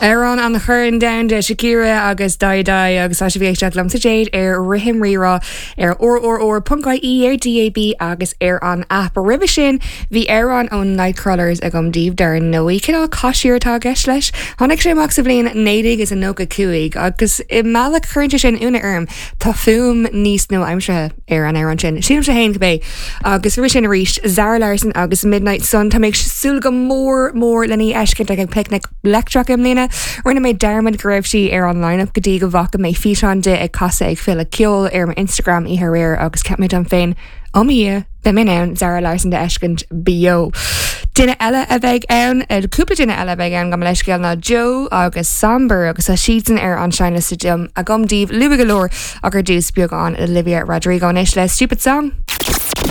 Amhrán an Choirn Domhanda, Shakira agus Dai Dai agus tá sibh ag éisteacht liomsa Jade ar Rithim Rírá ar rrr.ie, ar DAB agus ar an aip. Roimhe sin bhí amhrán ón Nightcrawlers agam daoibh dar ndóigh. Cineál caisír atá i gceist leis. Tháinig sé amach sa bhliain 1995 agus i mbealach cuireann sé sin ionadh orm. Tá fuaim níos nua-aimseartha ar an amhrán sin. Sílimse féin cibé. Agus roimhe sin arís, Zara Larsson agus Midnight Sun. Tá mé ag súil go mór mór lena í a fheiscint ag an Picnic Leictreach i mbliana. Rinne mé dearmad go raibh sí ar an line-up go dtí go bhfaca mé físeán di ag casadh ag Féile Ceoil ar m'Instagram oíche aréir agus cheap mé dom féin, Ó mo Dhia, beidh mé in ann Zara Larsson d'fheiscint beo. Duine eile a bheidh ann, cúpla duine eile a bheidh ann, gabh mo leithscéal, ná Joe agus Somber agus tá siadsan ar an seinnliosta agam daoibh luath go leor ach ar dtús beagán Olivia Rodrigo anois le Stupid Song.